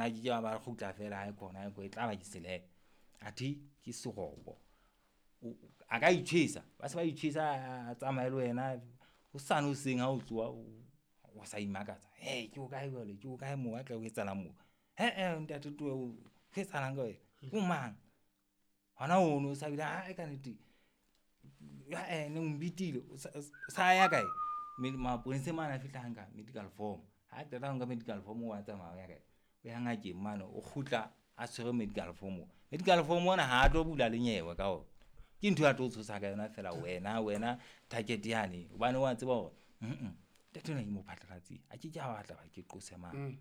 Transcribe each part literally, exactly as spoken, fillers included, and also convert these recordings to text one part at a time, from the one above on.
Bona ke ke ba ba kgutla fela ha khona e tla ba ke sele. Athe ke serobo. O a ka itjhesa, ba se ba itjhesa a tsamaye le wena hosane hoseng ha o tsoha o sa imakatsa. Hee ke hokae jwale, ke hokae moo atle ho etsahalang moo? He-eh ntate towe ho etsahalang ka wena, o mang? Hona hono o sa bile ae kannete, ae o mbitile o sa ya kae? Maponeseng mane a fihla a nka medical form, ha qeta ho nka medical form wa tsamaya o ya kae? O ya ngakeng mane, o kgutla a tshwere medical form. Medical form ona ha tlo bula le nyewe ka ona, ke ntho a tlo o tshosa ka yona feela wena wena target yane hobane wa tseba hore ntate enwa ke mo phatlalatseng a ke ke a batla ba ke qose mane.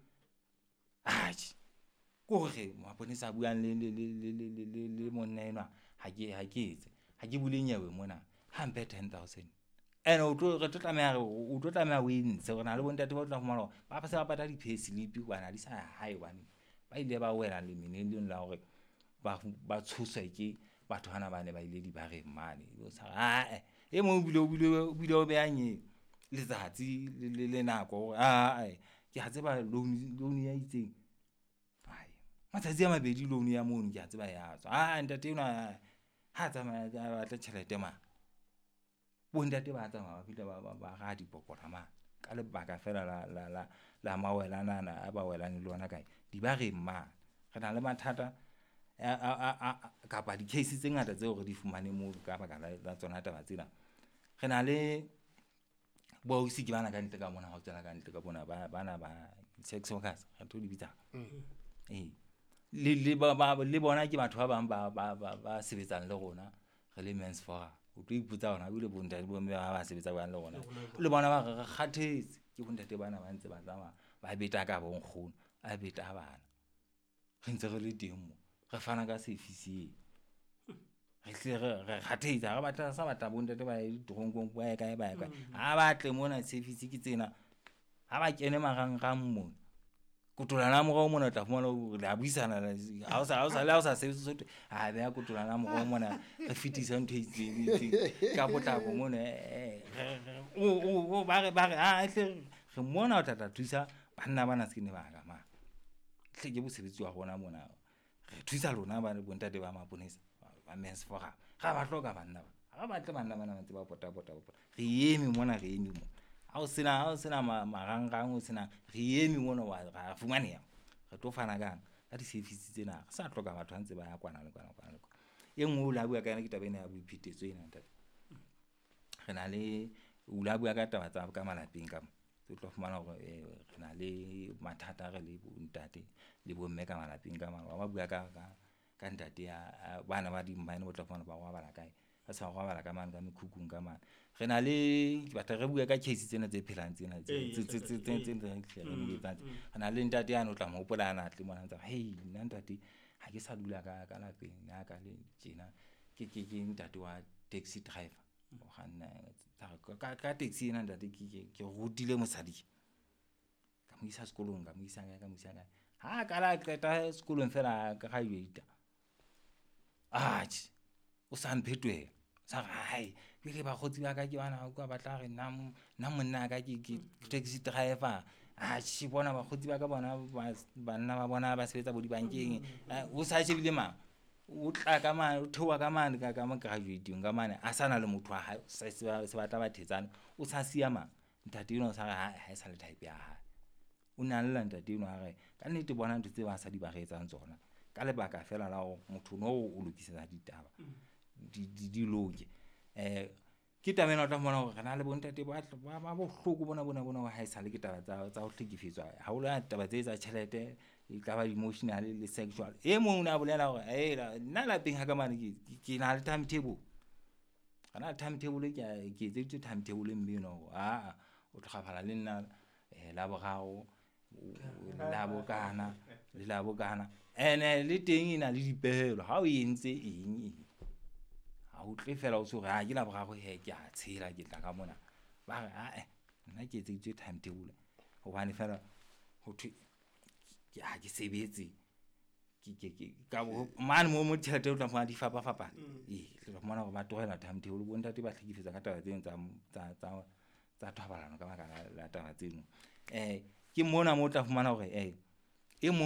Atjhe, ke hore maponesa a buang le le le le le le le monna enwa ha ke ha ke etse ha ke bule nyewe mona ha mphe ten thousand. Ene o tlo re tlo tlameha o tlo tlameha o e ntshe hore na le bontate ba tla fumana hore ba se ba pata di-payslip hobane ha di sa ya hae hobane ba ile ba wela lemeneng leno la hore ba ba tshoswa ke batho bana ba ne ba ile dibareng mane. O sa ae e mong o bile o bile o bile o beha letsatsi le le nako hore ae ke a tseba loan loan ya itseng. Matsatsi a mabedi loan ya mono ke a tseba ya tswa. Aa ntate enwa ha tsamaya a batle tjhelete mane. Bontate ba tsamaya ba fihla ba ba ba raha dipokora mane ka lebaka feela la la la la mawelana ana a ba welang le ona kae dibareng mane. Re na le mathata a a a kapa di-case tse ngata tseo re di fumaneng moo ka baka la la tsona taba tsena. Re na le bo ausi ke bana kantle ka mona ha o tswela kantle ka mona ba bana ba sex workers re tlo di bitsang. Ee, le le ba ba le bona ke batho ba bang ba ba ba ba sebetsang le rona re le Men's Forum. O tlo ipotsa hore ebile bontate bomme ba ba sebetsa jwang le rona. Le bona ba re re kgathetse ke bontate bana ba ntse ba tsamaya ba beta ka bo nkgono, a beta bana. Re ntse re le teng mo, re fana ka service eo. Re hlile re re kgathetse ha re batla sa batla bontate ba ye ditoronkong ba ye kae ba ye kae. Ha ba tle mona service ke tsena, ha ba kene marangrang mona. Kotolana ya morao mona o tla fumana hore le a buisana ha o sa ha o sa le ha o sa sebetse so thwe a beha kotolana ya morao mona re fetisa ntho e itseng e itseng ka potlako mona o ba re ba re a hle re mona o tla tla thusa banna bana se ne ba ka mane. Hle ke mosebetsi wa rona mona. Re thusa lona ba bontate ba maponesa ba Men's Forum. Ra ba hloka banna ba. Ha ba batle banna bana ba ntse ba pota pota pota. Re eme mona re eme mona. Ha o sena ha o sena marangrang o sena re eme mona wa ra fumaneha. Re tlo fana kang ka di-service tsena. Re sa hloka batho ba ntse ba ya kwana le kwana kwana le kwana. E nngwe o la bua ka yona ke taba ena ya boiphetetso ena ntate. Re na le o la bua ka taba tsa ka malapeng ka mo. O tlo fumana hore re na le mathata re le bontate le bomme ka malapeng ka mane. Wa bua ka ka ka ntate ya bana ba di-mine o tla fumana ba robala kae. Ba sa robala ka mane ka mekhukhung ka mane. Re na le ke batla re bue ka case tsena tse phelang tsena tse tse tse tse tse tse re di etsang. Re na le ntate yane o tla mo hopola ana tle mona ntsa hey nna ntate ha ke sa dula ka ka lapeng nna ka le tjena ke ke ke ntate wa taxi driver. O kganna ka ka taxi ena ntate ke ke ke rutile mosadi. Ka mo isa sekolong ka mo isa kae ka mo isa kae. Ha ka la qeta sekolong feela graduate. Atjhe o sa mphetohela. Sa re hai jwale bakgotsi ba ka ke bana ba tla re nna nna monna ka ke ke taxi driver. Atjhe bona bakgotsi ba ka bona banna ba bona ba sebetsa bo dibankeng. O sa shebile mang? O tla ka mane o theoha ka mane ka ka mo graduate-ing ka mane a sa na le motho wa hae se se batla ba thetsana. O sa siya mang? Ntate enwa o sa re ha ha e sa le type ya hae. O ne a lla ntate enwa a re ka nnete bona ntho tse basadi ba re etsang tsona. Ka lebaka feela la hore motho no o lokisetsa ditaba di di di loke. Eh ke taba ena o tla fumana hore re na le bontate ba ba bohloko bona bona bona ha esale ke taba tsa tsa ho hlekefetswa haholo ha taba tse tsa tjhelete e ka ba emotional le sexual. E mong o ne a bolela hore hela nna lapeng ha ka mane ke ke na le timetable. Re na le timetable ke ke etseditswe timetable mme enwa hore aa o tlo kgafala le nna Laboraro la bokana le la bokana. Ene le teng e na le dipehelo ha o entse eng eng. Ha o tle fela o so re ha ke Laboraro he ke a tshela ke tla ka mona. Ba re ae nna ke etseditswe timetable hobane fela ho thwe ke ha ke sebetse ke ke ke ka mane mo mo tjhelete o tla fumana di fapafapane. Ee tla fumana hore ba tlohela timetable bontate ba hlekefetsa ka taba tseno tsa tsa tsa tsa thobalano ka baka la taba tseno. Eh ke mona mo o tla fumana hore eh e mong